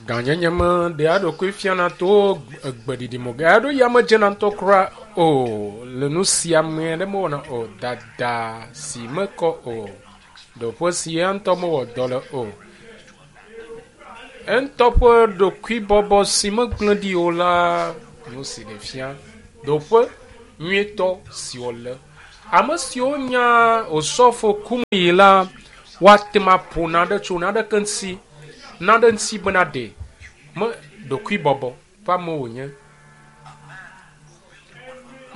Gãnyenye me ɖea eɖokui fiana to gbeɖiɖi me. Ɣeaɖewoɣi ya medzena ŋutɔ kura o le nu sia me ɖe mewɔna o. Dada si mekɔ o, ɖoƒe si ya ŋutɔ mewɔ dɔ le o. Eŋutɔ ƒe ɖokuibɔbɔ si megblẽ ɖi o la, nu si ɖe fia ɖoƒe nyuitɔ si wòle. Ame siwo nya Osɔfo Kumuyi la, woate ŋu aƒo naɖe tso naɖeke ŋuti, naɖe ŋuti bena ɖe me ɖokuibɔbɔ ƒe ame wònye.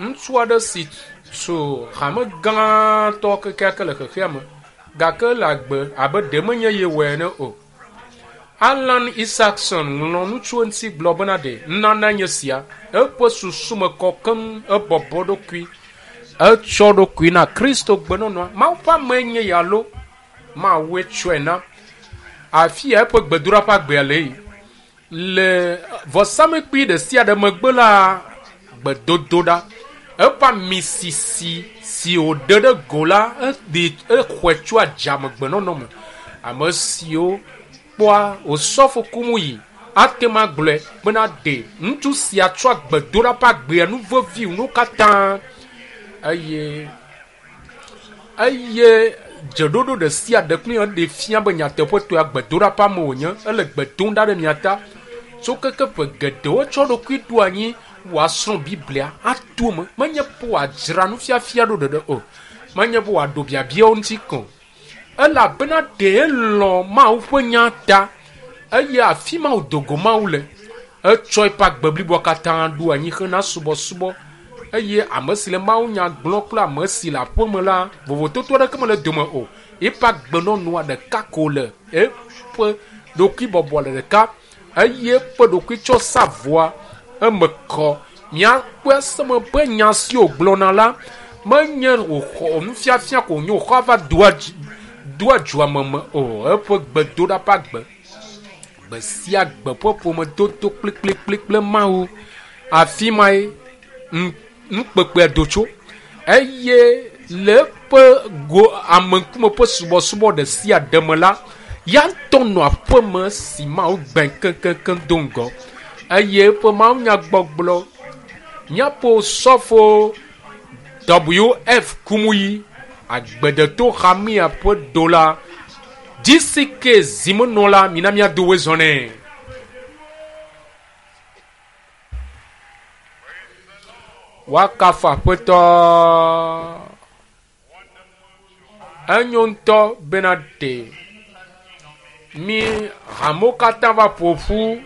Ŋutsu aɖe si tso hame gãtɔ kekeake le xexea me gake ele agbe abe ɖe menye ye wɔe ene o. Alan Isaacson ŋlɔ nu tso eŋuti gblɔ bena ɖe nunana nye sia. Eƒe susu me kɔ keŋ, ebɔbɔ ɖokui, etsɔ ɖokui na Kristo gbenɔnɔa. Mawu ƒe amee nye ya alo Mawue tsɔe na. Afi ya eƒe gbedoɖa ƒe agbea le yi. Le vɔsamlekpui ɖe sia ɖe megbe la, gbedodoɖa. Eƒe ami sisi si wòɖe ɖe go la, eɖi exɔe tso adzamegbenɔnɔ me. Ame siwo kpɔa osɔfo Kumuyi ate ŋu agblɔe bena ɖe ŋutsu sia tsɔa gbedoɖa ƒe agbea nu vevi nuwo katã eye eye dzeɖoɖo ɖe sia ɖe kple eɖe fia be nyateƒetɔe gbedoɖa ƒe ame wònye. Ele gbe dom ɖa ɖe mia ta. Tso keke ƒe geɖewo tsɔ ɖokui ɖo anyi wòasrɔ̃ Biblia ato eme. Menye be wòadzra nufiafia ɖo ɖeɖe o. Menye be wòaɖo biabiawo ŋuti ko o. Elabena ɖe elɔ̃ Mawu ƒe nya ta eye afi ma wòdo go Mawu le. Etsɔ eƒe agbe bliboa katã ɖo anyi hena subɔsubɔ eye ame si le mawunya gblɔm kple ame si le aƒeme la, vovototo aɖeke mele dome o. Eƒe agbenɔnɔa ɖeka ko le, eƒe ɖokuibɔbɔ le ɖeka eye eƒe ɖokuitsɔsavɔa eme kɔ. Míakpɔe ase me be nya si wògblɔna la menye wòxɔ nufiafia ko wònye wòxɔ va doa doa dzoa me me o. Eƒe gbedoɖa ƒe agbe gbe sia gbe ƒe ƒomedodo kplikplikpli kple Mawu. Afi mae nukpekpea do tso eye le eƒe go ame ŋkume ƒe subɔsubɔ ɖe sia ɖe me la, ya ŋutɔ nɔ aƒeme si Mawu gbẽ keŋkeŋkeŋ do ŋgɔ eye eƒe mawunyagbɔgblɔ míaƒe osɔfo WF Kumuyi agbedeto hamea ƒe ɖola GCK zimenɔla mina míado wezɔ nɛ. Woakafu Aƒetɔ. Enyo ŋutɔ bena ɖe mí hamewo katã va ƒo ƒu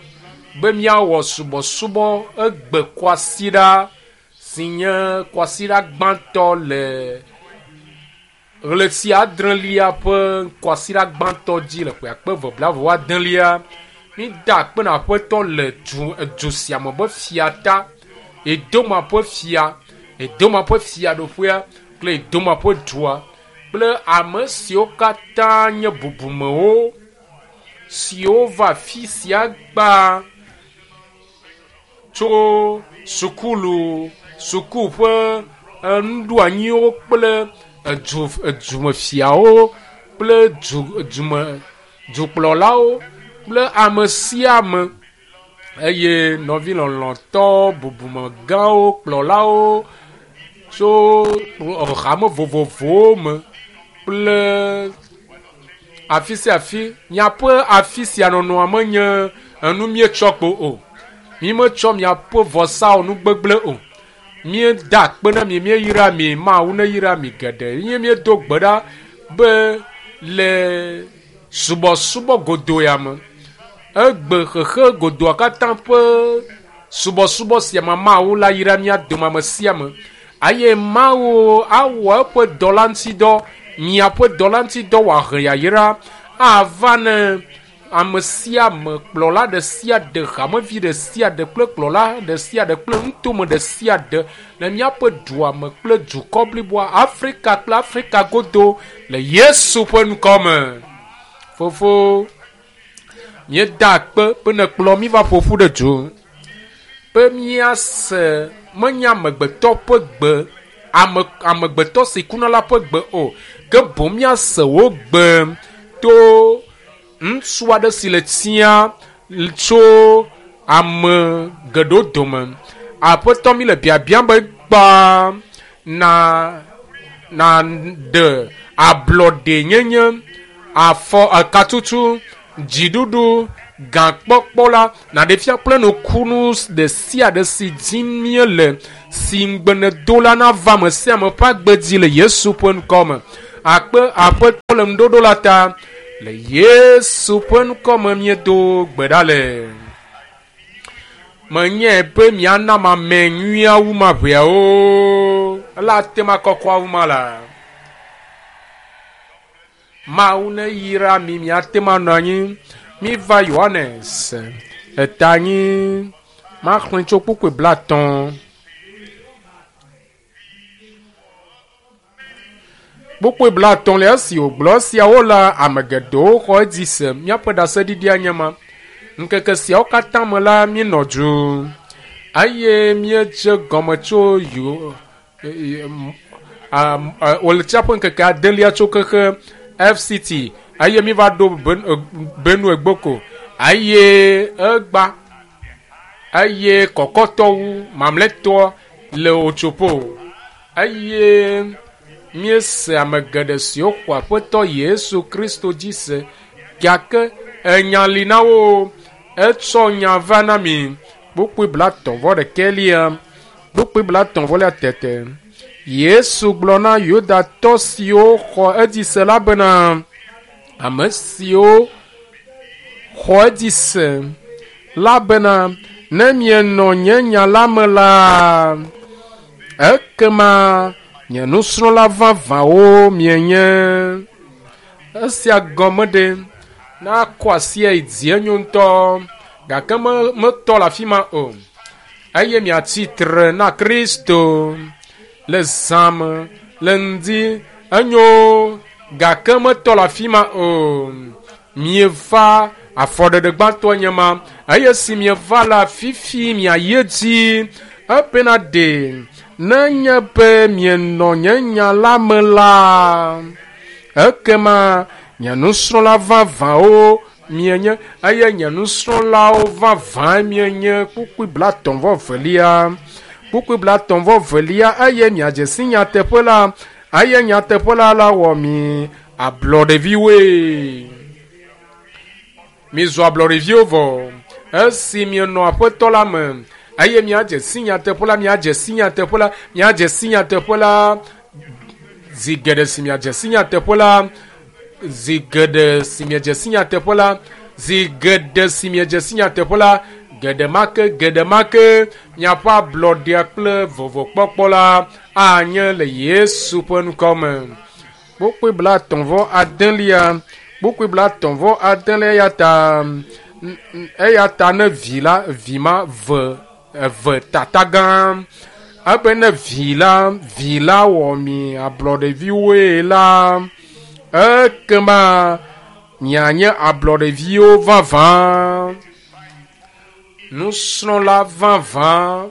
be míawɔ subɔsubɔ egbe kwasiɖa si nye kwasiɖa gbãtɔ le Ɣleti adrelia ƒe kwasiɖa gbãtɔ dzi le ƒe akpe eve blaeve vɔ adelia, mída akpe na Aƒetɔ le du, edu sia me be fia ta, Edoma ƒe fia, Edoma ƒe fiaɖoƒea kple Edoma ƒe dua kple ame siwo katã nye bubumewo siwo va afi sia gbaa tso sukulu, suku ƒe nuɖoanyiwo kple edu edumefiawo kple du dume dukplɔlawo kple ame sia ame eye nɔvi lɔlɔ̃tɔ bubumegãwo kplɔlawo tso hame vovovowo me kple afi sia afi. Miaƒe afi sia nɔnɔa menye enu míetsɔ kpo o. Mímetsɔ miaƒe vɔsawo nu gbegblẽ o. Míeda akpe na mi, míeyra mi, Mawu neyra mi geɖe. Ye míedo gbe ɖa be le subɔsubɔ godo ya me, egbe xexe godoa katã ƒe subɔsubɔ sia me, Mawu la yra mía dome ame sia ame. Eye Mawu awɔ eƒe dɔla ŋuti dɔ, miaƒe dɔla ŋuti dɔ wòahe yayra ava ne ame sia ame, kplɔla ɖe sia ɖe, hamevi ɖe sia ɖe kple kplɔla ɖe sia ɖe kple nutome ɖe sia ɖe le míaƒe dua me kple dukɔ bliboa, Afrika kple Afrika godo le Yesu ƒe ŋkɔ me. Fofo, míeda akpe be nèkplɔ mí va ƒo ƒu ɖe du be míase menye amegbetɔ ƒe gbe, ame amegbetɔ si kuna la ƒe gbe o, ke boŋ míase wò gbe to ŋutsu aɖe si le tia tso ame geɖewo dome. Aƒetɔ mi le biabiam be gbã na na ɖe ablɔɖenyenye, afɔ ekatutu, dziɖuɖu, gakpɔkpɔ la naɖe fia kple nukunu ɖe sia ɖe si dim míele si ŋugbe nèdo la nava ame sia ame ƒe agbe dzi le Yesu ƒe ŋkɔ me. Akpe Aƒetɔ le ŋuɖoɖo la ta le Yesu ƒe ŋkɔ me míedo gbe ɖa le. Menyae be miana ame nyuiawo ma ʋeawo ele ate ma kɔkɔawo ma la. Mawu ne yra mi miate ma nɔ anyi. Miva Yohanes eta anyi maxlẽ tso kpukpui 50. Kpukpui 50 le esi wògblɔ esiawo la, ame geɖewo xɔ edzi se. Míaƒe ɖaseɖiɖia nye ma. Ŋkeke siawo katã me la, míenɔ du eye míedze gɔme tso wòletia ƒe ŋkeke adelia tso kexe FCT eye míva ɖo Benue Gboko eye egba eye kɔkɔtɔwu mamlɛtɔ le Otsopo eye míese ame geɖe siwo xɔ Aƒetɔ Yesu Kristo dzi se gake enya li na wo etsɔ nya va na mi. Kpukpui 31 kpukpui 30 tete. Yesu gblɔ na Yudatɔ siwo xɔ edzi se la bena ame siwo xɔ edzi se la bena ne mienɔ nye nya la me la ekema nye nusrɔ̃la vavãwo mienye. Esia gɔme ɖe na kɔ asia yi dzi enyo ŋutɔ gake metɔ le afi ma o eye miatsi tre na Kristo le zã me le ŋdi enyo gake metɔ le afi ma o. Mieva afɔɖeɖe gbãtɔ nye ma eye si mieva la fifi miayi edzi ebena ɖe nenye be mienɔ nye nya la me la ekema nye nusrɔ̃la vavãwo mienye eye nye nusrɔ̃lawo vavã mienye. Kpukpui 32 kpukpui 32 eye miadze si nyateƒe la eye nyateƒe la la wɔ mi ablɔɖeviwoe. Mizu ablɔɖeviwo vɔ esi mienɔ Aƒetɔ la me eye miadze si nyateƒe la miadze si nyateƒe la miadze si nyateƒe la zi geɖe si miadze si nyateƒe la zi geɖe si miadze si nyateƒe la zi geɖe si miadze si nyateƒe la geɖe ma ke miaƒe ablɔɖea kple vɔvɔkpɔkpɔ la anye le Yesu ƒe ŋkɔ me. Kpukpui 39 kpukpui 39 eya ta ne vi la vi ma ve eve tata gã ebe ne vi la wɔ mi ablɔɖeviwoe la ekema mianye ablɔɖeviwo vavã, nusrɔ̃la vavã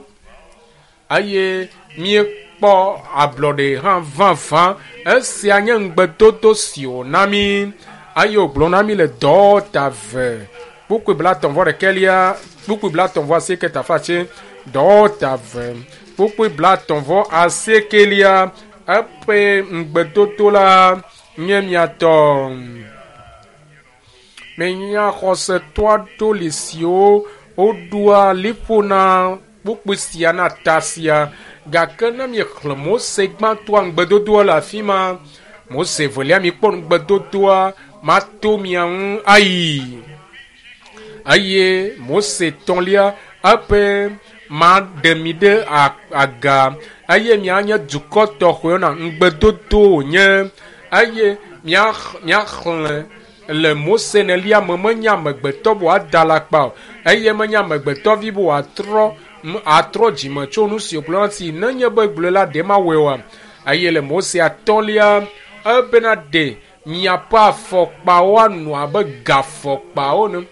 eye míekpɔ ablɔɖe hã vavã. Esia nye ŋugbedodo si wòna mí eye wògblɔ na mí le dɔwɔta ve kpukpui 31 kpukpui 38 tafatse dɔwɔta ve kpukpui 38 eƒe ŋugbedodo la nye miatɔ. Menya xɔsetɔ aɖewo li siwo woɖoa liƒo na kpukpui sia na ta sia gake ne miexlẽ Mose gbãtɔa ŋugbedodoa le afi ma Mose velia mikpɔ ŋugbedodoa mato mia ŋu ayi eye Mose tɔ̃lia eƒe maɖe mi ɖe aga eye mianye dukɔ tɔxɔe na ŋugbedodo wònye eye miaxlẽ le Mose nelia me menye amegbetɔ be wòada alakpa o eye menye amegbetɔvi be wòatrɔ atrɔ dzime tso nu si wògblɔ si nenye be gblɔe la ɖe mawɔe oa eye le Mose atɔ̃lia ebena ɖe miaƒe afɔkpawo anɔ abe gafɔkpawo ene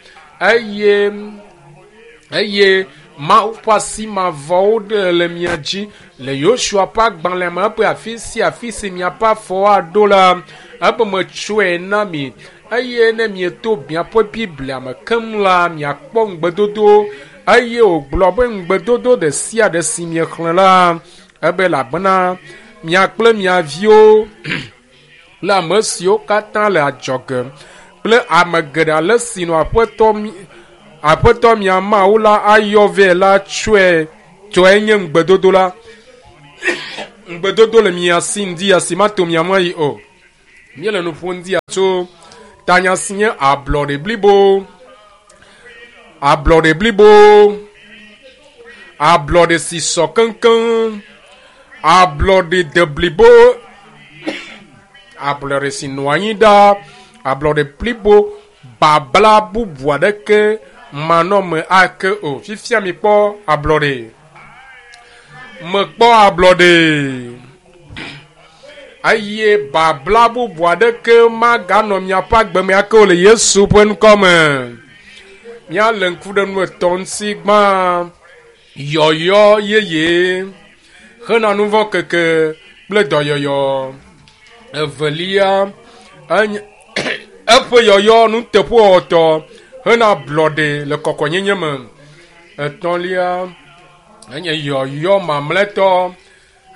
eye Mawu ƒe asi mavɔwo ɖe le mia dzi le Yosua ƒe agbalẽ me eƒe afi sia afi si miaƒe afɔwo aɖo la ebe metsɔe na mi Eye ne mieto miaƒe Biblia me keŋ la, miakpɔ ŋugbedodo. Eye wògblɔ be ŋugbedodo ɖe sia ɖe si miexlẽ la, ebe elabena mia kple mia viwo kple ame siwo katã le adzɔge kple ame geɖe ale si nɔ aƒetɔ mi aƒetɔ mia Mawu la ayɔ vɛ la tsɔe tɔe nye ŋugbedodo la. Ŋugbedodo le mia si ŋdi ya si mato mia ŋu ayi o. Míele nu ƒom ŋdi ya tso tanya si nye ablɔɖe blibo. Ablɔɖe blibo. Ablɔɖe si sɔ keŋkeŋ. Ablɔɖe deblibo. Ablɔɖe si nɔ anyi ɖaa. Ablɔɖe blibo babla bubu aɖeke manɔme ake o. Fifia mikpɔ ablɔɖe. Mekpɔ ablɔɖe. Eye babla bubu aɖeke maganɔ miaƒe agbe me ake o le Yesu ƒe ŋkɔ me. Míalé ŋku ɖe nu etɔ̃ ŋuti gbã. Yɔyɔ yeye hena nu vɔ̃ keke kple dɔyɔyɔ. Evelia, enye eƒe yɔyɔ nuteƒewɔwɔtɔ hena ablɔɖe le kɔkɔenyenye me. Etɔ̃lia, enye yɔyɔ mamlɛtɔ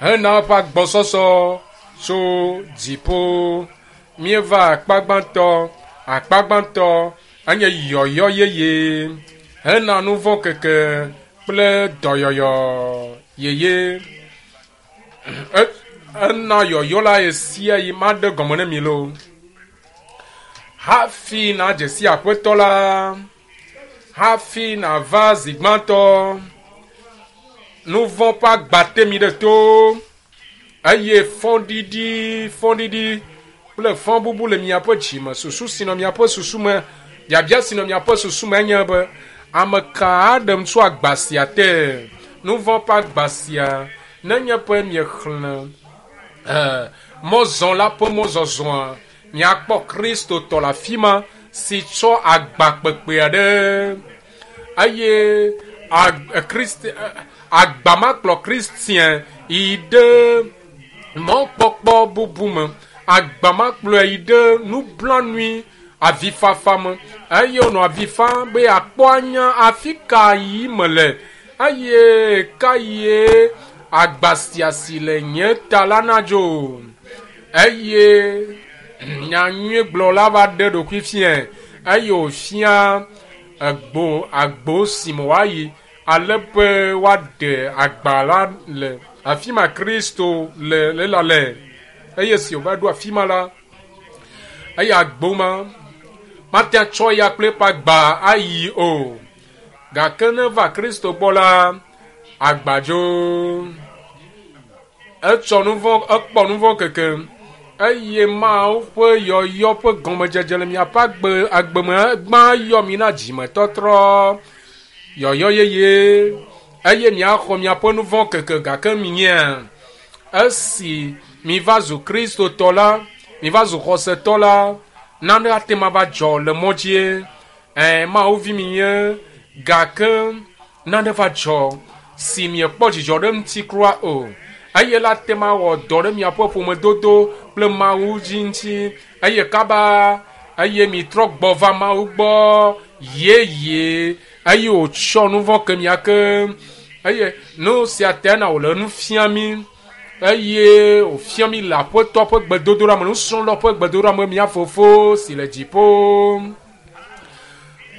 hena eƒe agbɔsɔsɔ tso dziƒo. Míeva akpa gbãtɔ. Akpa gbãtɔ enye yɔyɔ yeye hena nu vɔ̃ keke kple dɔyɔyɔ yeye. Ena yɔyɔ la ɣe sia ɣi maɖe gɔme ne mi loo. Hafi nadze si aƒetɔ la, hafi nava zi gbãtɔ, nu vɔ̃ ƒe agba te mi ɖe to eye fɔɖiɖi, fɔɖiɖi kple fɔbubu le miaƒe dzi me. Susu si nɔ miaƒe susu me, biabia si nɔ miaƒe susu me enye be ame ka aɖem tso agba sia te? Nu vɔ̃ ƒe agba sia nenye be miexlẽ mɔzɔla ƒe mɔzɔzɔa, miakpɔ Kristotɔ le afi ma si tsɔ agba kpekpe aɖe eye agba ma kplɔ Kristian yi ɖe mɔkpɔkpɔ bubu me. Agba ma kplɔe yi ɖe nublanui avifafa me eye wònɔ avi fam be yeakpɔ anya afi ka yi mele eye ka ye agba sia si le nye ta la nadzo. Eye nyanyuigblɔla va ɖe ɖokui fiae eye wòfia egbo agbo si me woayi ale be woaɖe agba la le afi ma Kristo le le la le. Eye si wòva ɖo afi ma la, eye agbo ma mate atsɔ ya kple eƒe agba ayi o. Gake ne va Kristo gbɔ la, agba dzo. Etsɔ nu vɔ̃, ekpɔ nu vɔ̃ keke eye Mawu ƒe yɔyɔ ƒe gɔmedzedze le miaƒe agbe agbe me gbã yɔ mi na dzimetɔtrɔ, yɔyɔ yeye eye miaxɔ miaƒe nu vɔ̃ keke gake minyea esi miva zu Kristotɔ la, miva zu xɔsetɔ la, nane ate ma va dzɔ le mɔ dzie. Ɛ Mawu vi minye gake nane va dzɔ si miekpɔ dzidzɔ ɖe ŋuti kura o. Eye la te ma wɔ dɔ ɖe miaƒe ƒomedodo kple Mawu dzi ŋuti eye kaba eye mitrɔ gbɔ va Mawu gbɔ yeye eye wòtsɔ nu vɔ̃ ke mia ke eye nu sia ta na wòle nu fia mi eye wòfia mi le aƒetɔ ƒe gbedodoɖa me, nusrɔ̃lawo ƒe gbedodoɖa me, mia fofo si le dziƒo.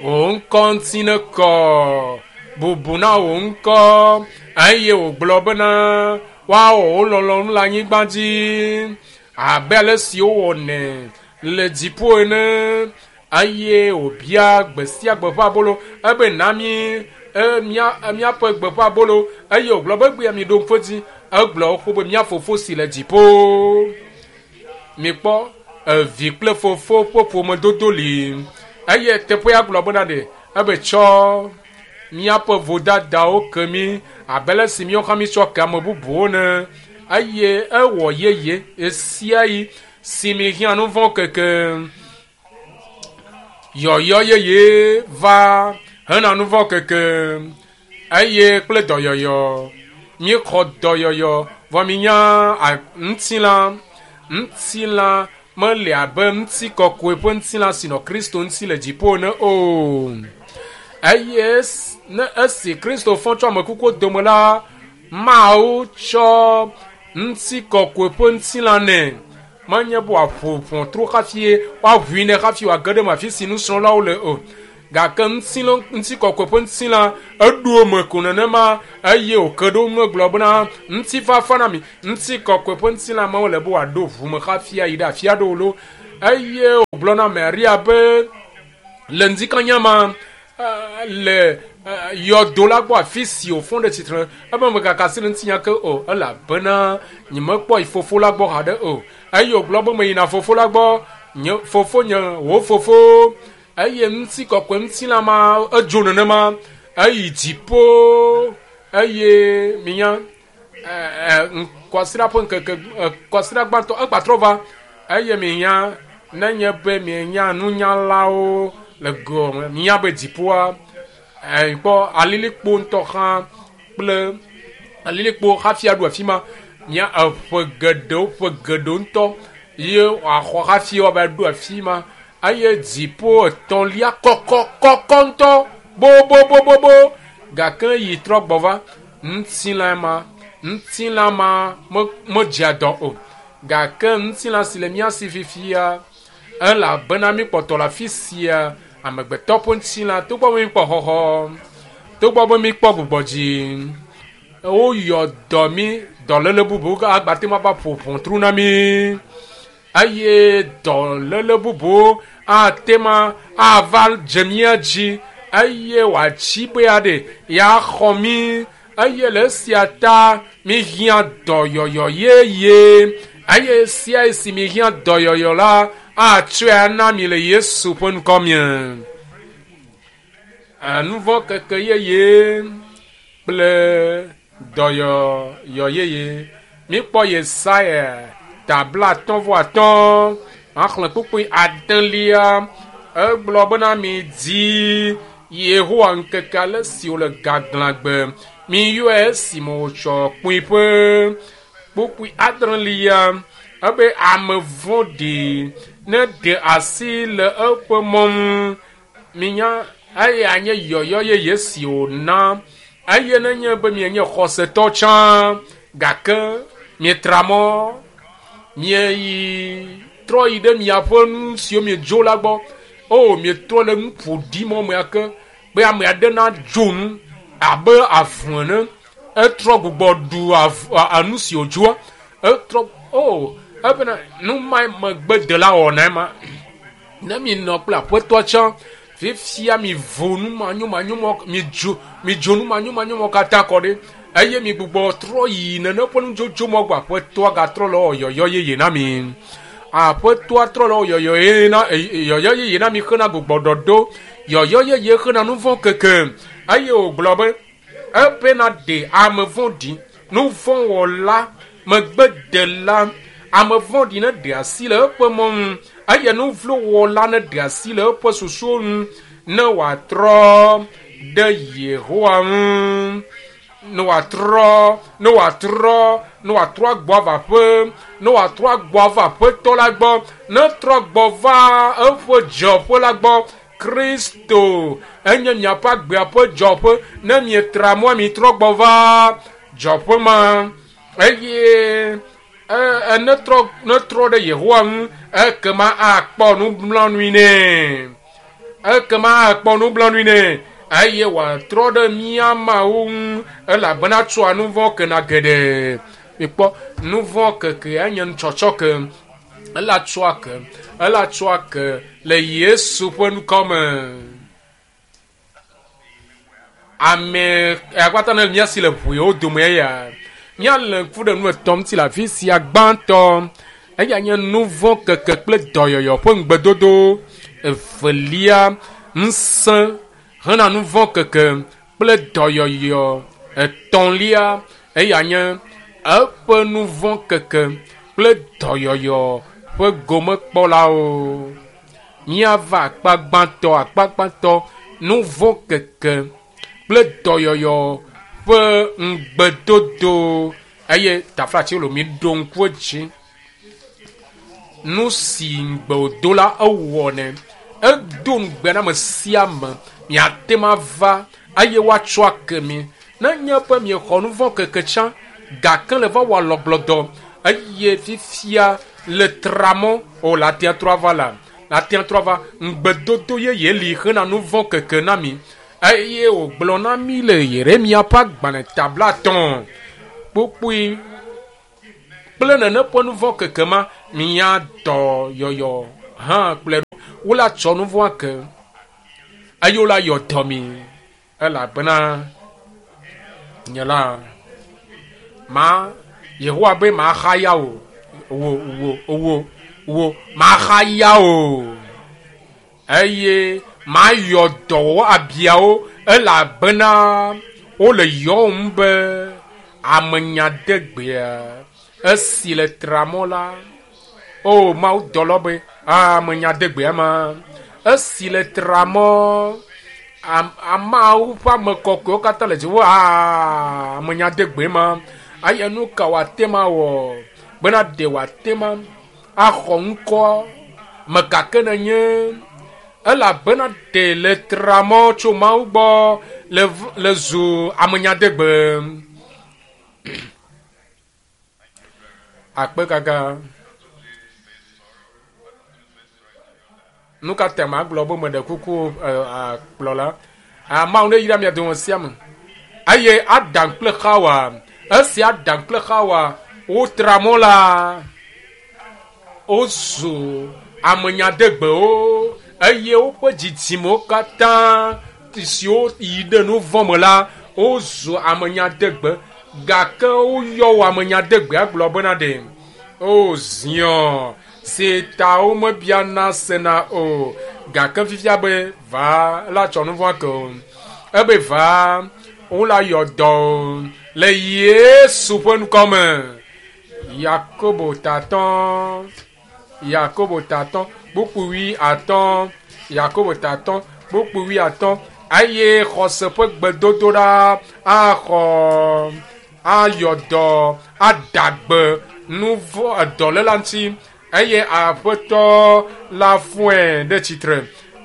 Wò ŋkɔ ŋuti nekɔ, bubu na wò ŋkɔ eye wògblɔ bena woawɔ wò lɔlɔ̃nu le anyigba dzi abe ale si wowɔnɛ le dziƒo ene eye wòbia gbe sia gbe ƒe abolo ebe na mi míaƒe gbe ƒe abolo eye wògblɔ be egbea mi ɖo ŋku edzi egblɔ xoxo be mía fofo si le dziƒo. Mikpɔ evi kple fofo ƒe ƒomedodo li eye teƒea gblɔ bena ɖe ebe tsɔ míaƒe vodadawo ke mí abe ale si míawo hã mítsɔ ke ame bubuwo ene eye ewɔ yeye ɣe sia ɣi si mihiã nu vɔ̃ keke. Yɔyɔ yeye va hena nu vɔ̃ keke eye kple dɔyɔyɔ. Míexɔ dɔyɔyɔ vɔ minya ŋutilã ŋutilã mele abe ŋutikɔkɔe ƒe ŋutilã si nɔ Kristo ŋuti le dziƒo ene o. Eye ne esi Kristo fɔ tso ame kukuwo dome la, Mawu tsɔ ŋutikɔkɔe ƒe ŋutilã nɛ. Menye be wòaƒo ʋɔtru hafi woaʋui nɛ hafi wòage ɖe eme afi si nusrɔ̃lawo le o. Gake ŋutikɔkɔe ƒe ŋutilã eɖo eme ko nenema eye wòke ɖe wo ŋu gblɔ bena ŋutifafa na mi. Ŋutikɔkɔe ƒe ŋutilã mewole be wòaɖo ʋu me hafi ayi ɖe afi aɖewo lo. Eye wògblɔ na Maria be le ŋdikanya ma le yɔdo la gbɔ afi si wòfɔ ɖe tsitre ebe megaka asi ɖe ŋutinya ke o elabena nyemekpɔ yi fofo la gbɔ haɖe o. Eye wògblɔ be meyina fofo la gbɔ, nye fofo nye wò fofo. Eye ŋutikɔkɔe ŋutilã ma edzo nenema eyi dziƒo eye minya kwasiɖa ƒe ŋkeke kwasiɖa gbãtɔ egbatrɔ va eye minya nenye be mienya nunyalawo le gɔme minya be dziƒoa kpɔ alilikpo ŋutɔ hã kple alilikpo hafi aɖu afi ma mia eƒe geɖewo ŋutɔ ye wòaxɔ hafi woava ɖo afi ma eye dziƒo etɔ̃lia kɔkɔ ŋutɔ bobobobobo gake yi trɔ gbɔ va ŋutilã ma medzea dɔ o gake ŋutilã si le mía si fifia elabena mi kpɔtɔ le afi sia amegbetɔ ƒe ŋutilã togbɔ be mi kpɔ xɔxɔ togbɔ be mi kpɔ gbugbɔdzi woyɔ dɔ mi dɔléle bubu agbate ma va ƒo ʋɔtru na mi eye dɔléle bubu ate ma ava dze mía dzi eye wòatsi be aɖe yeaxɔ mi eye le esia ta mihiã dɔyɔyɔ yeye eye sia si mihiã dɔyɔyɔ la atsɔe ana mi le Yesu ƒe ŋkɔ me. Nuvɔ keke yeye kple dɔyɔyɔ yeye. Mikpɔ Yesaya ta 55 axlẽ kpukpui 8 egblɔ bena mi di Yehowa ŋkeke ale si wòle gaglãgbe miyɔe esime wòtsɔ kpuiƒe. Kpukpui 8 ebe ame vɔ̃ɖi ne ɖe asi le eƒe mɔ ŋu minya eya nye yɔyɔ yeye si wòna eye nenye be mienye xɔsetɔ tsã gake mietra mɔ mieyi trɔ yi ɖe miaƒe nu siwo miedzo la gbɔ o mietrɔ le nu ƒo ɖi mɔ mea ke be ame aɖe nadzo nu abe avu ene etrɔ gbugbɔ ɖu nu si wòdzoa etrɔ o ebena nu ma megbedela wɔna ema ne mi nɔ kple aƒetɔ tsã fifia mi vo nu manyomanyomɔ mi dzo nu manyomanyomɔ katã kɔ ɖe eye mi gbugbɔ trɔ yi nene ƒe nudzodzo mɔ gbɔ aƒetɔa gatrɔ le yɔyɔ yeye na mi aƒetɔa trɔ le yɔyɔ yeye na mi xena gbugbɔ ɖɔɖo yɔyɔ yeye xena nu vɔ̃ keke eye wògblɔ be ebena ɖe ame vɔ̃ɖi nu vɔ̃ wɔla megbedela ame vɔ̃ɖi ne ɖe asi le eƒe mɔ ŋu eye nu vlo wɔla ne ɖe asi le eƒe susuwo ŋu ne wòatrɔ ɖe Yehowa ŋu ne wòatrɔ ne wòatrɔ agbɔ ava ƒe ne wòatrɔ agbɔ ava aƒetɔ la gbɔ ne trɔ gbɔ va eƒe dzɔƒe la gbɔ Kristo enye miaƒe agbea ƒe dzɔƒe ne mietra mɔ mitrɔ gbɔ va dzɔƒe ma eye ne trɔ ɖe Yehowa ŋu ekema akpɔ nublanui nɛ ekema akpɔ nublanui nɛ eye wòatrɔ ɖe mía Mawu ŋu elabena tsɔa nu vɔ̃ kena geɖe. Mikpɔ nu vɔ̃ keke enye nutsɔtsɔ ke ela tsɔa ke le Yesu ƒe ŋkɔ me. Ame akpata ne mía si le ʋuiwo dome eya míale ŋku ɖe nu etɔ̃ ŋuti le afi sia. Gbãtɔ eya nye nu vɔ̃ keke kple dɔyɔyɔ ƒe ŋugbedodo. Evelia ŋusẽ hena nu vɔ̃ keke kple dɔyɔyɔ. Etɔ̃lia eya nye eƒe nu vɔ̃ keke kple dɔyɔyɔ ƒe gomekpɔlawo. Míava akpa gbãtɔ nu vɔ̃ keke kple dɔyɔyɔ ƒe ŋugbedodo eye taflatsi lo mi ɖo ŋku edzi. Nu si ŋugbe wòdo la, ewɔnɛ. Edo ŋugbe na ame sia ame. Miate ŋu ava eye woatsɔ ake mi. Nenye be miexɔ nu vɔ̃ keke tsã, gake le va wɔ alɔgblɔdɔ eye fifia le tra mɔ o la ate atrɔ ava la, ate atrɔ ava. Ŋugbedodo yeye li hena nu vɔ̃ keke na mi. Eye wògblɔ na mi le Yeremia ƒe agbalẽ ta blaetɔ̃ kpukpui kple nene ƒe nu vɔ̃ keke ma, mia dɔyɔyɔ hã kplɔe ɖo. Wola tsɔ nu vɔ̃a ke eye wola yɔ dɔ mi elabena nye la ma Yehowa be maxaya o wo wo wo wo maxaya o eye mayɔ dɔ wo abiawo elabena wole yɔwom be amenyadegbea esi le tramɔ la. O Mawu dɔlɔ be amenyadegbea ma esi le tramɔ ameawo ƒe ame kɔkɔewo katã le dziƒo amenyadegbe ma eye nu ka wòate ma wɔ bena ɖe wòate ma axɔ ŋkɔ me gake nenye elabena ɖe le tramɔ tso Mawu gbɔ le zu amenyadegbe. Akpe gaga. Nu ka ta magblɔ be meɖe kuku kplɔla? Mawu ne yra mia dome sia me. Eye Adam kple Xawa, esi Adam kple Xawa wotra mɔ la, wozu amenyadegbewo eye woƒe dzidzimewo katã siwo yi ɖe nu vɔ̃ me la, wozu amenyadegbe. Gake woyɔ wo amenyadegbea gblɔ bena ɖe o ziɔ si ta womebiana sena o. Gake fifia be va la tsɔ nu vɔ̃ ke o. Ebe va wola yɔ dɔ o le Yesu ƒe ŋkɔ me. Yakobo tatɔ, Yakobo tatɔ, kpukpui wuiatɔ̃, Yakobo tatɔ, kpukpui wuiatɔ̃. Eye xɔse ƒe gbedodoɖa axɔ ayɔ dɔ ada gbe nu vɔ̃ dɔléla ŋuti eye aƒetɔ la fɔe ɖe tsitre.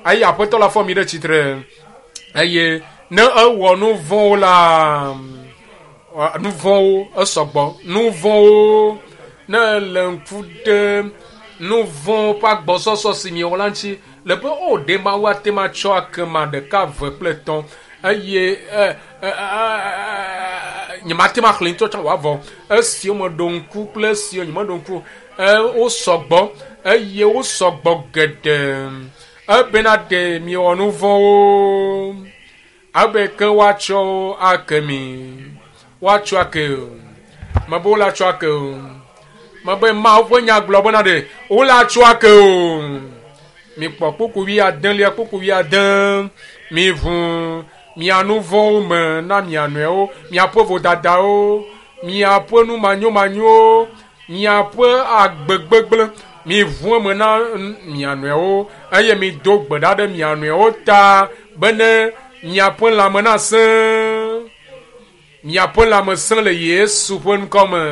Eye aƒetɔ la fɔ mi ɖe tsitre. Eye ne ewɔ nu vɔ̃wo la, nu vɔ̃wo esɔgbɔ. Nu vɔ̃wo ne le ŋku ɖe nu vɔ̃ ƒe agbɔsɔsɔ si miewɔ la ŋuti le be o ɖe Mawu ate ŋu atsɔ ake ma ɖeka eve kple etɔ̃ eye nyemate ŋu axlẽ ŋutɔ tsã wòavɔ. Esiwo meɖo ŋku kple esiwo nyemeɖo ŋku wosɔgbɔ eye wosɔgbɔ geɖe. Ebena ɖe miewɔ nu vɔ̃wo abe ke woatsɔ ake mi. Woatsɔ ake o. Mebe wola tsɔ ake o. Mebe Mawu ƒe nya gblɔ bena ɖe wola tsɔ ake o. Mikpɔ kpukpui wuiadelia kpukpui wuiade. Miʋu mia nu vɔ̃wo me na mia nɔewo, miaƒe vodadawo, miaƒe nu manyomanyowo, miaƒe agbe gbegblẽ. Miʋu eme na mia nɔewo eye mido gbe ɖa ɖe mia nɔewo ta bene miaƒe lãme nasẽ. Miaƒe lãme sẽ le Yesu ƒe ŋkɔ me.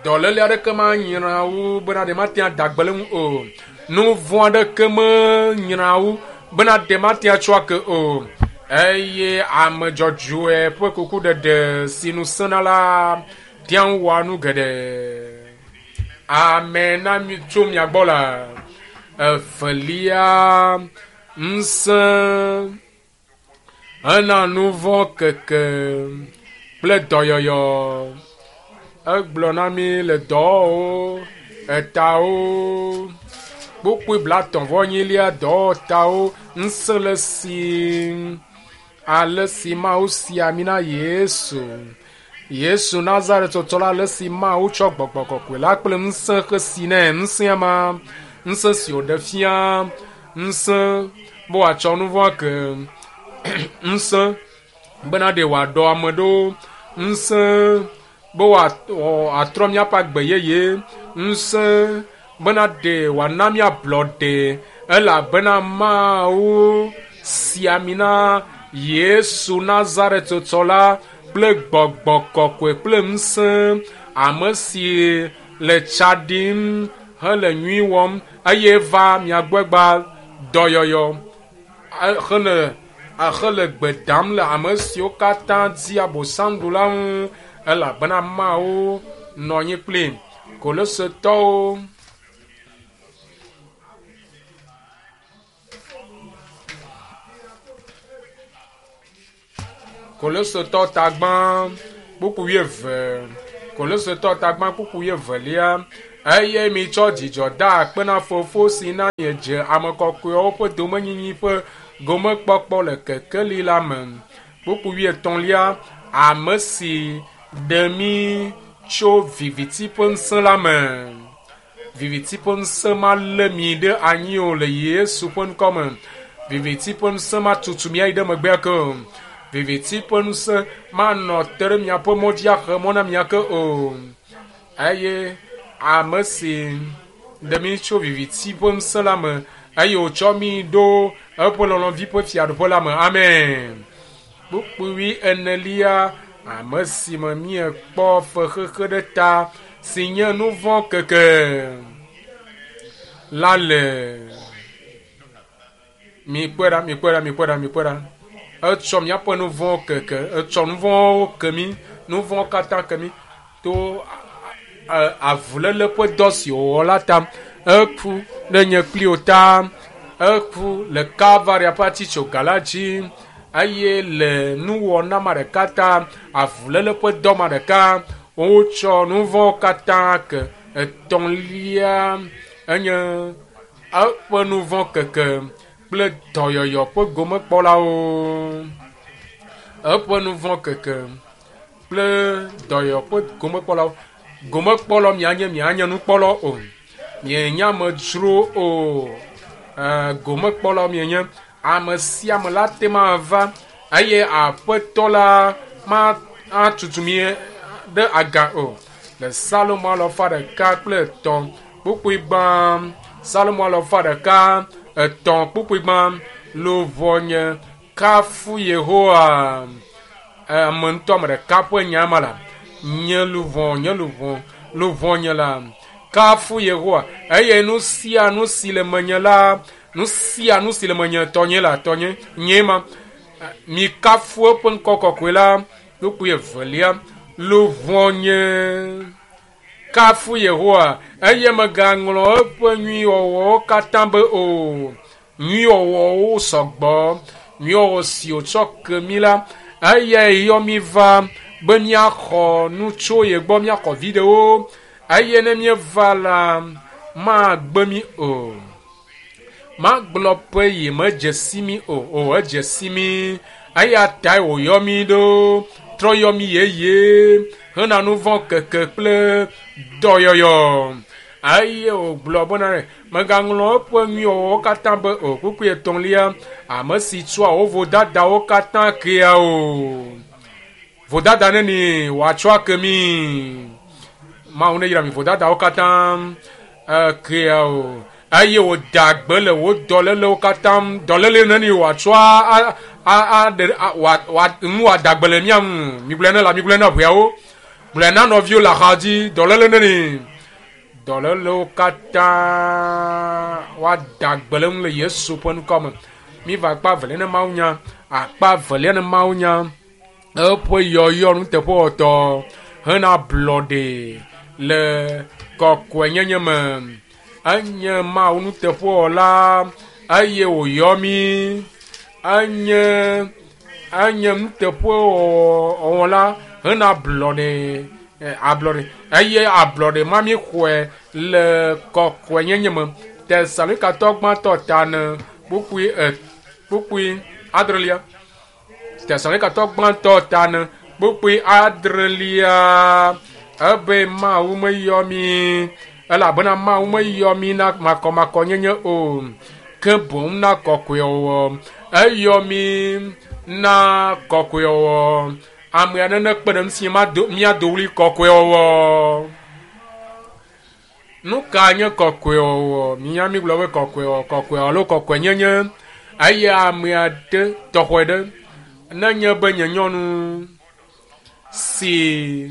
Dɔléle aɖeke manyra wo bena ɖe mate ada gbe le ŋu o. Nu vɔ̃ aɖeke menyra wo bena ɖe mate atsɔ ake o. Eye ame dzɔdzɔe ƒe kukuɖeɖe si nu sẽna la tea ŋu wɔa nu geɖe. Ame na mi tso mia gbɔ la. Evelia, ŋusẽ hena nu vɔ̃ keke kple dɔyɔyɔ. Egblɔ na mi le dɔwɔwɔwo, etawo, kpukpui blaetɔ̃ vɔ enyilia dɔwɔtawo, ŋusẽ le si ale si Mawu si ami na Yesu. Yesu Nazaretɔtɔ la ale si Mawu tsɔ gbɔgbɔ kɔkɔe la kple ŋusẽ xe si nɛ. Ŋusẽa ma, ŋusẽ si wòɖe fia, ŋusẽ be wòatsɔ nu vɔ̃ ake, ŋusẽ bena ɖe wòaɖɔ ame ɖo, ŋusẽ be wòatrɔ míaƒe agbe yeye, ŋusẽ bena ɖe wòana míablɔɖe elabena Mawu si ami na Yesu Nazaretɔtɔ la kple gbɔgbɔ kɔkɔe kple ŋusẽ, ame si le tsa ɖim hele nyui wɔm eye va mia gbɔ gba dɔyɔyɔ hele gbe dam le ame siwo katã di abosam ɖu la ŋu elabena Mawu nɔ anyi kpli Kolosetɔwo. Kolosetɔ tagbã kpukpu wuieve. Kolosetɔ tagbã kpukpu wuievelia. Eye mitsɔ dzidzɔ da akpe na Fofo si na miedze ame kɔkɔewo ƒe domenyinyi ƒe gomekpɔkpɔ le kekeli la me. Kpukpu wuietɔ̃lia. Ame si ɖe mí tso viviti ƒe ŋusẽ la me. Viviti ƒe ŋusẽ malé mi ɖe anyi o le Yesu ƒe ŋkɔ me. Viviti ƒe ŋusẽ matutu mi ayi ɖe megbea ke o. Viviti ƒe ŋusẽ manɔ te ɖe miaƒe mɔ dzi axe mɔ na mia ke o. Eye ame si ɖe mi tso viviti ƒe ŋusẽ la me eye wòtsɔ mi ɖo eƒe lɔlɔ̃vi ƒe fiaɖuƒe la me. Amen. Kpukpui enelia, ame si me míekpɔ fexexe ɖe ta si nye nu vɔ̃ keke la le. Mikpɔe ɖa, mikpɔe ɖa, mikpɔe ɖa, mikpɔe ɖa. Etsɔ míaƒe nu vɔ̃ keke, etsɔ nu vɔ̃wo ke mí, nu vɔ̃ katã ke mí to avuléle ƒe dɔ si wòwɔ la ta. Eku ɖe nye kpli wò ta. Eku le Kalvaria ƒe atitsoga la dzi eye le nuwɔna ma ɖeka ta, avuléle ƒe dɔ ma ɖeka, wotsɔ nu vɔ̃ katã ke. Etɔ̃lia enye eƒe nu vɔ̃ keke kple dɔyɔyɔ ƒe gomekpɔlawo. Eƒe nu vɔ̃ keke kple dɔyɔyɔ ƒe gomekpɔlawo. Gomekpɔlawo mianye, mianye nukpɔlawo o. Mienye amedzro o. Gomekpɔlawo mienye. Ame sia ame la te ma va eye aƒetɔ la ma atutu mi ɖe aga o. Le Salomo alɔfa ɖeka kple etɔ̃ kpukpui gbã. Salomo alɔfa ɖeka etɔ̃ kpukpui gbã. Luʋɔnye kafu Yehowa. Ame ŋutɔ ame ɖeka ƒe nya ma la. Nye luʋɔ, nye luʋɔ, luʋɔnye la kafu Yehowa eye nu sia nu si le menye la, nu sia nu si le menye tɔnye la tɔnye nye ma. Mikafu eƒe ŋkɔ kɔkɔe la. Kpukpui evelia. Luʋɔnye kafu Yehowa eye megaŋlɔ eƒe nyuiwɔwɔwo katã be o. Nyuiwɔwɔwo sɔgbɔ. Nyuiwɔwɔ si wòtsɔ ke mí la, eyae yɔ mí va be míaxɔ nu tso ye gbɔ, míaxɔ viɖewo eye ne míeva la, magbe mí o. Magblɔ be yemedze si mí o. O, edze si mí. Eya tae wòyɔ mí ɖo, trɔ yɔ mí yeye hena nu vɔ̃ keke kple dɔyɔyɔ. Eye wògblɔ bena, megaŋlɔ eƒe nyuiwɔwɔwo katã be o. Kpukpui etɔ̃lia, ame si tsɔa wo vodadawo katã kea o. Vodada neni wòatsɔ ake mí. Mawu neyra mi vodadawo katã kea o. Eye wòda gbe le wò dɔlélewo katã dɔléle neni wòatsɔ aɖe nu wòada gbe le mía ŋu. Migblɔe ne la, migblɔe na ʋeawo. Gblɔe na nɔviwo le axa dzi. Dɔléle neni. Dɔlélewo katã woada gbe le ŋu le Yesu ƒe ŋkɔ me. Míva akpa evelia ne Mawu nya. Akpa evelia ne Mawu nya. Eƒe yɔyɔ nuteƒewɔtɔ hena ablɔɖe le kɔkɔenyenye me. Enye Mawu nuteƒewɔla eye wòyɔ mí. Enye enye nuteƒewɔla hena ablɔɖe ablɔɖe eye ablɔɖe ma míexɔe le kɔkɔenyenye me. Tesalonikatɔ gbãtɔ ta ene kpukpui e kpukpui adrelia. Tesalonikatɔ gbãtɔ ta ene kpukpui adrelia ebe Mawu meyɔ mí elabena Mawu meyɔ mí na makɔmakɔnyenye o ke boŋ na kɔkɔewɔwɔ. Eyɔ mí na kɔkɔewɔwɔ. Ame aɖe nekpe ɖe ŋutinye mado míado ɣli kɔkɔewɔwɔ. Nu ka nye kɔkɔewɔwɔ? Mínya mígblɔ be kɔkɔewɔwɔ, kɔkɔewɔwɔ alo kɔkɔenyenye eye ame aɖe tɔxɔe ɖe nenye be nye nyɔnu si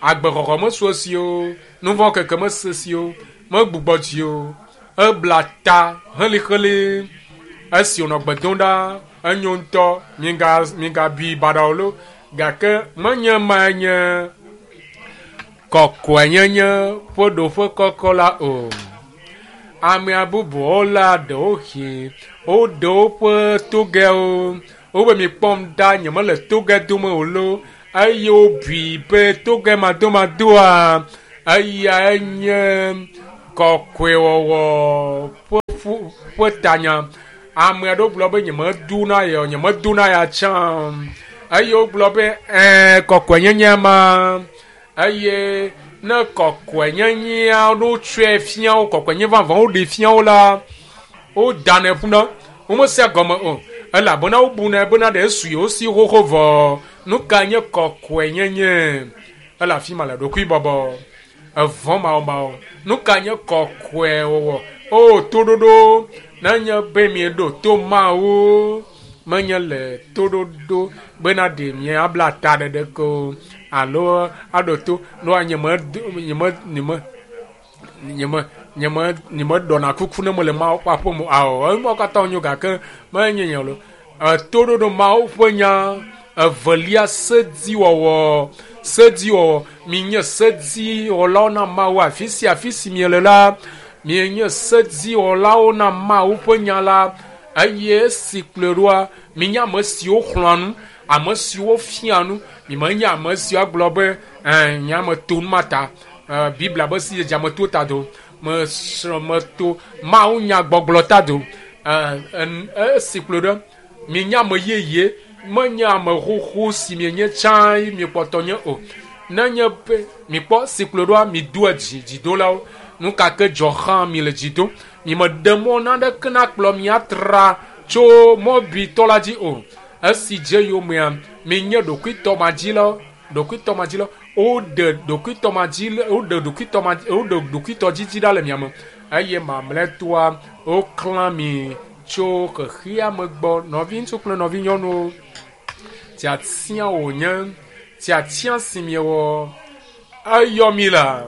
Agbexɔxɔ mesu esi o, nuvɔ keke mese si o, megbugbɔ dzi o. Ebla ta heliheli esi wònɔ gbe dom ɖa. Enyo ŋutɔ, miga migabui baɖa o lo. Gake menye mae nye kɔkɔenyenye ƒe ɖoƒe kɔkɔ la o. Amea bubuwo la ɖewohĩ woɖe woƒe togɛwo. Wobe mikpɔm ɖa nyemele togɛ dome o lo eye wobui be togɛ madomadoa eyae nye kɔkɔewɔwɔ ƒe ƒu ƒe tanya. Ame aɖewo gblɔ be nyemedona ya o, nyemedona ya tsã o. Eye wogblɔ be ɛɛ kɔkɔenyenye ma eye ne kɔkɔenyenyea ɖo tsɔe fia wo, kɔkɔenye vavã woɖe fia wo la, wodanɛ ƒuna. Womesea gɔme o elabena wobunɛ bena ɖe esu yewo si xoxo vɔ. Nu ka nye kɔkɔenyenye? Ele afi ma le ɖokuibɔbɔ. Evɔ̃ mawɔmawɔ. Nu ka nye kɔkɔewɔwɔ? O toɖoɖo nenye be mieɖo to Mawu menye le toɖoɖo bena ɖe miabla ta ɖeɖe ko alo aɖo to noa nyeme nyeme nyeme nyeme nyeme nyemeɖɔna kuku ne mele Mawu ƒe aƒe me o. Ao, enuawo katã nyo gake menye nye lo. Etoɖoɖo Mawu ƒe nya evelia sediwɔwɔ sediwɔwɔ minye sediwɔlawo na Mawu afi sia afi si miele la mienye sediwɔlawo na Mawu ƒe nya la eye esi kplɔe ɖoa minye ame siwo xlɔ̃a nu ame siwo fia nu mimenye ame siwo agblɔ be ɛɛ nye ame to nu ma ta Biblia be sidzedze ame to ta do mesrɔ̃ meto Mawu nya gbɔgblɔ ta do esi kplɔe ɖo mienye ame yeye menye ame xoxo si mienye tsã ye miekpɔtɔ nye o. Nenye be mikpɔ si kplɔe ɖoa midoa dzi dzidolawo. Nu ka ke dzɔ hã mi le dzi dom. Mimeɖe mɔ naneke nakplɔ mi atra tso mɔbitɔ la dzi o. Esi dze yomea minye ɖokuitɔmadzilawo ɖokuitɔmadzilawo woɖe ɖokuitɔmadzi woɖe ɖokuitɔmadzi woɖe ɖokuitɔdzidzi ɖa le mia me eye mamlɛtɔa woklã mi tso xexea me gbɔ. Nɔviŋutsu kple nɔvinyɔnuwo, tiatia wònye tiatia si miewɔ eyɔ mi la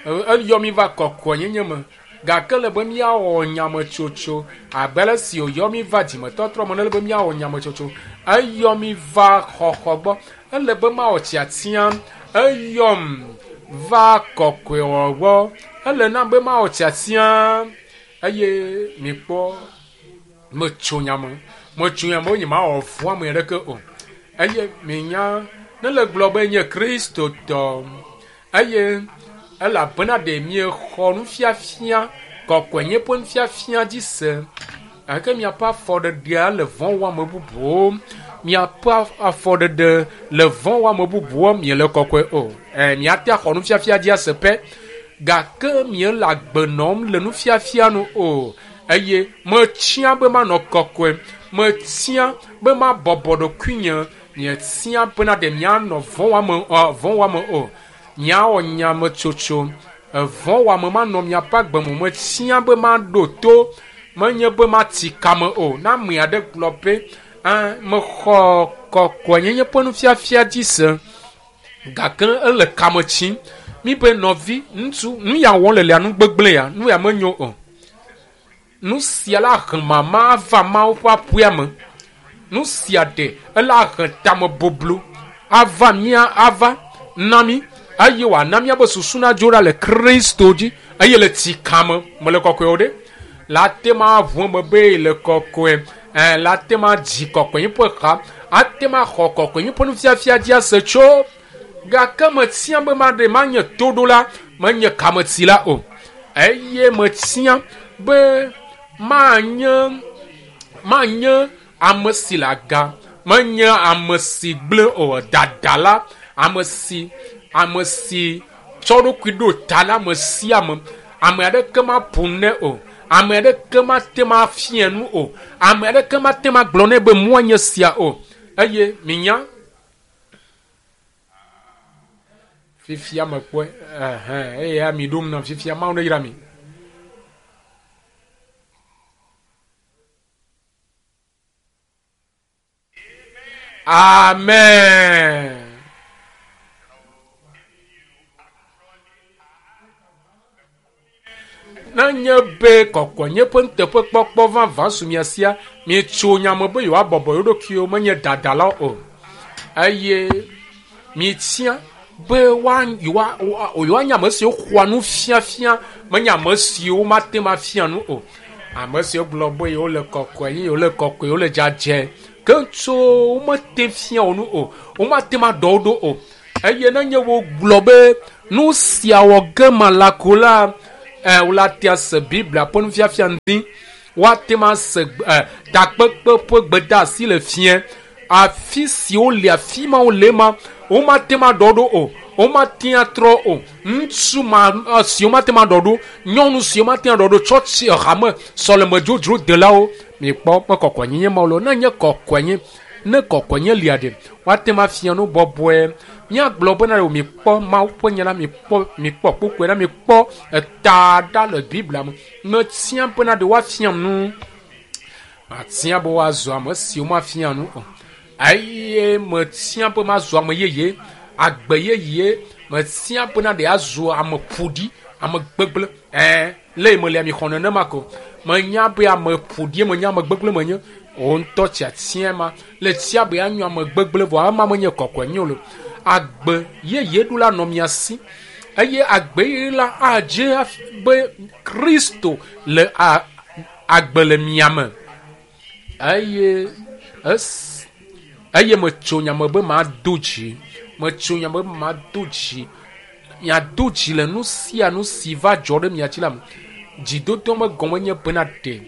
eyɔ mi va kɔkɔenyenye me gake le be míawɔ nyametsotso abe ale si wòyɔ mi va dzimetɔtrɔ me ne ele be míawɔ nyametsotso eyɔ mi va xɔxɔ gbɔ ele be mawɔ tiatia eyɔm va kɔkɔewɔ gbɔ ele nam be mawɔ tiatia eye mikpɔ metso nyame metso nyame be nyemawɔ vɔ̃ ame aɖeke o eye minya ne le gblɔ be nye kristotɔ eye elabena ɖe miexɔ nufiafia kɔkɔenye ƒe nufiafia dzi se gake miaƒe afɔɖeɖea le vɔ̃ wɔame bubuwo miaƒe afɔɖeɖe le vɔ̃ wɔame bubuwo miele kɔkɔe o ɛ miate axɔ nufiafia dzi ase pɛ gake miele agbe nɔm le nufiafia nu o eye metia be manɔ kɔkɔe metia be mabɔbɔ ɖokuinye mietia bena ɖe mianɔ vɔ̃ wɔame vɔ̃ wɔame o miawɔ nyametsotso evɔ̃ wɔame manɔ miaƒe agbe me metia be maɖo to menye be mati kame o ne ame aɖe gblɔ be ɛɛ mexɔ kɔkɔenyenye ƒe nufiafia dzi se gake ele kame tsim mi be nɔvi ŋutsu nu ya wɔm le lia nu gbegblẽ ya nu ya menyo o nu sia la he mama ava Mawu ƒe aƒea me nu sia ɖe ela he tame boblo ava mía ava na mi eye wòana míaƒe susu nadzo ɖa le Kristo dzi eye le tsi kame mele kɔkɔe o ɖe la te ma ʋu eme be le kɔkɔe ɛ la te ma dzi kɔkɔe ƒe xa ate ma xɔ kɔkɔe ƒe nufiafia dzi ase tso gake metia be maɖe manye toɖola menye kametila o eye metia be manye manye ame si le aga menye ame si gblẽ o dadala ame si ame si tsɔ ɖokui ɖo ta na ame sia ame ame aɖeke maƒo nɛ o ame aɖeke mate ma fia nu o ame aɖeke mate ma gblɔ nɛ be mɔa nye sia o eye minya fifia mekpɔe ɛhɛn eye ami ɖom nam fifia Mawu ne yra mi. Amen. Nenye be kɔkɔenye ƒe nuteƒekpɔkpɔ vavã su mia sia, mietso nya me be yewoabɔbɔ yewo ɖokuiwo, menye dadalawo o. Eye mietia be yewoanye ame siwo xɔa nufiafia, menye ame siwo mate ŋu afia nu o. Ame siwo gblɔ be yewole kɔkɔe, yewole kɔkɔe, yewole dzadzɛ, ke tso womete fia wo nu o, womate ŋu aɖɔ wo ɖo o. Eye nenye wogblɔ be nu sia wɔ ge mala ko la, woate ase Biblia ƒe nufiafia ŋdi, woate ŋu ase takpekpe ƒe gbedeasi le fia. Afi si wole, afi ma wole ma, womate ŋu aɖɔ ɖo o, womate ŋu atrɔ o. Ŋutsu ma si womate ŋu aɖɔ ɖo, nyɔnu si womate ŋu aɖɔ ɖo, tsɔtsi hame sɔleme dzodzro delawo, mikpɔ me kɔkɔenyenye ma wo ne nye kɔkɔenye, ne kɔkɔenye lia ɖe, woate ŋu afia nu bɔbɔe. Míagblɔ bena ɖe mikpɔ Mawu ƒe nya la, mikpɔ kpukpui la, mikpɔ eta ɖa le Biblia me. Metia bena ɖe woafia nu. Atia be woazu ame siwo mafia nu o. Eye metia be mazu ame yeye, agbe yeye. Metia bena ɖe azu ame ƒoɖi, ame gbegblẽ. Le melia mi xɔ nenema ko. Menya be ame ƒoɖi, menya ame gbegblẽ menye. Wo ŋutɔ tiatia ma le tia be anyo ame gbegblẽ vɔ ama menye kɔkɔe nyo lo. Agbe yeye ɖo la nɔ mia si. Eye agbe yeye la adze be Kristo le agbe le mia me. Eye metso nya me be mado dzi. Metso nya me be mado dzi. Miado dzi le nu sia nu si va dzɔ ɖe mia dzi la me. Dzidodo me gɔme nye bena ɖe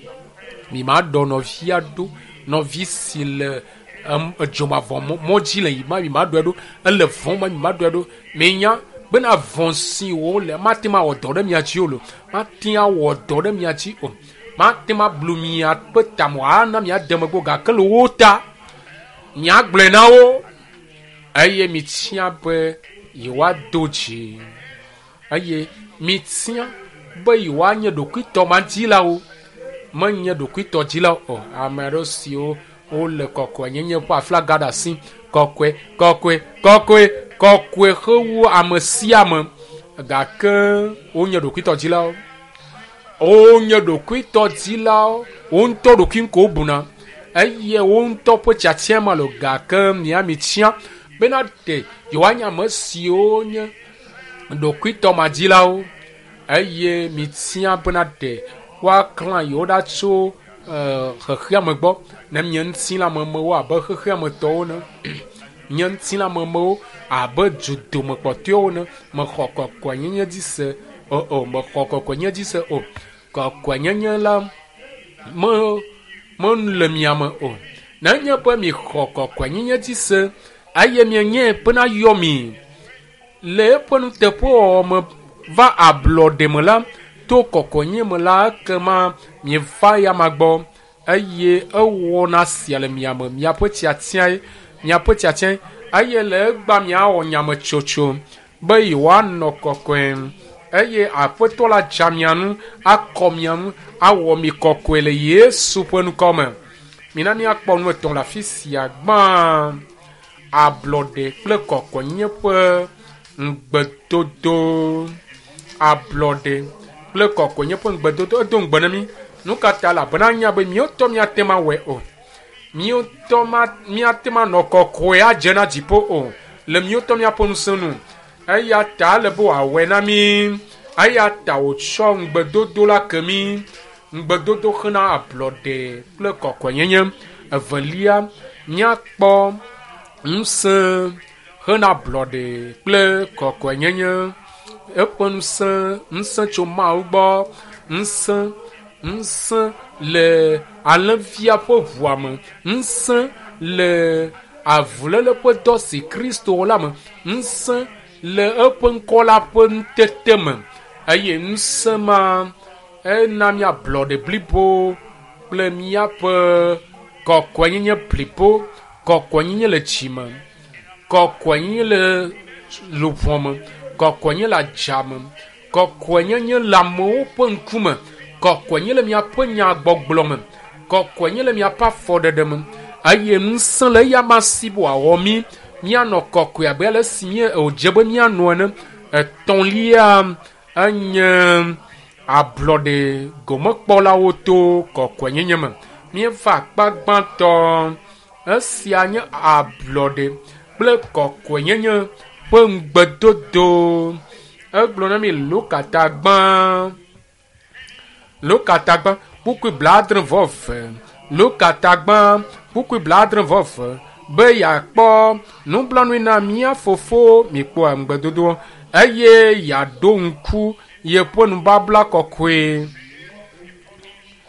mi maɖɔ nɔvia ɖo, nɔvi si le dzomavɔ mɔ dzi le yima, mi maɖɔe ɖo, ele vɔ̃ ma, mi maɖɔe ɖo. Minya bena vɔ̃ si wole mate ŋu awɔ dɔ ɖe mia dzi o lo, mate ŋu awɔ dɔ ɖe mia dzi o, mate ŋu ablu miaƒe tame ana miade megbe o, gake le wo ta miagblɔe na wo eye mitia be yewoado dzi, eye mitia be yewoanye ɖokuitɔmadilawo, menye ɖokuitɔdzilawo o. Ame aɖewo siwo wole kɔkɔenyenye ƒe aflaga ɖe asi, kɔkɔe, kɔkɔe, kɔkɔe, kɔkɔe hewu ame sia ame, gake wonye ɖokuitɔdzilawo. Wonye ɖokuitɔdzilawo, wo ŋutɔ ɖokui ŋko wobuna, eye wo ŋutɔ ƒe tiatia ma lo, gake mia mitia bena ɖe yewoanye ame siwo nye ɖokuitɔmadilawo, eye mitia bena ɖe woaklã yewo ɖa tso xexeame gbɔ, ne nye ŋutilãmemewo abe xexeametɔwo ne, nye ŋutilãmemewo abe dudomekpɔtɔewo ne, mexɔ kɔkɔenyenye dzi se o, mexɔ kɔkɔenyenye dzi se o. Kɔkɔenyenye la mele mia me o. Nenye be mixɔ kɔkɔenyenye dzi se eye mienye bena yɔ mi le eƒe nuteƒewɔwɔ me va ablɔɖe me la, to kɔkɔenyenye me la, ekema mieva ya ma gbɔ eye ewɔna sia le mia me, miaƒe tiatiae, miaƒe tiatiae, eye le egbea miawɔ nyametsotso be yewoanɔ kɔkɔe, eye Aƒetɔ la dza mia ŋu, akɔ mia ŋu, awɔ mi kɔkɔe le Yesu ƒe ŋkɔ me. Mina míakpɔ nu etɔ̃ le afi sia. Gbã, ablɔɖe kple kɔkɔenyenye ƒe ŋugbedodo. Ablɔɖe kple kɔkɔenyenye ƒe ŋugbedodo. Edo ŋugbe na mí. Nu ka ta? Elabena anya be míawo ŋutɔ míate ŋu awɔe o. Míawo ŋutɔ míate ŋu anɔ kɔkɔe adze na dziƒo o le míawo ŋutɔ míaƒe ŋusẽ nu. Eya ta ele be wòawɔe na mí. Eya ta wòtsɔ ŋugbedodo la ke mí. Ŋugbedodo xena ablɔɖe kple kɔkɔenyenye. Evelia, míakpɔ ŋusẽ xena ablɔɖe kple kɔkɔenyenye. Eƒe ŋusẽ, ŋusẽ tso Mawu gbɔ, ŋusẽ, ŋusẽ le alẽvia ƒe ʋua me, ŋusẽ le avuléle ƒe dɔ si Kristo wɔ la me, ŋusẽ le eƒe ŋkɔ la ƒe ŋutete me, eye ŋusẽ ma ena míablɔɖe blibo kple míaƒe kɔkɔenyenye blibo, kɔkɔenyenye le dzime, kɔkɔenyenye le luʋɔ me, kɔkɔenyenye le adzame, kɔkɔenyenye le amewo ƒe ŋkume, kɔkɔenyenye le miaƒe nyagbɔgblɔ me, kɔkɔenyenye le miaƒe afɔɖeɖe me, eye ŋusẽ le eya ma si be wòawɔ mí míanɔ kɔkɔe abe ale si wòdze be míanɔ ene. Etɔ̃lia enye Ablɔɖe gomekpɔlawo to kɔkɔenyenye me. Míeva akpa gbãtɔ. Esia nye ablɔɖe kple kɔkɔenyenye ƒe ŋugbedodo. Egblɔ na mi Luka ta gbã. Luka ta gbã kpukpui 70. Luka ta gbã kpukpui 70 be yeakpɔ nublanui na mía fofo mikpɔa ŋugbedodoa eye yeaɖo ŋku yeƒe nubabla kɔkɔe.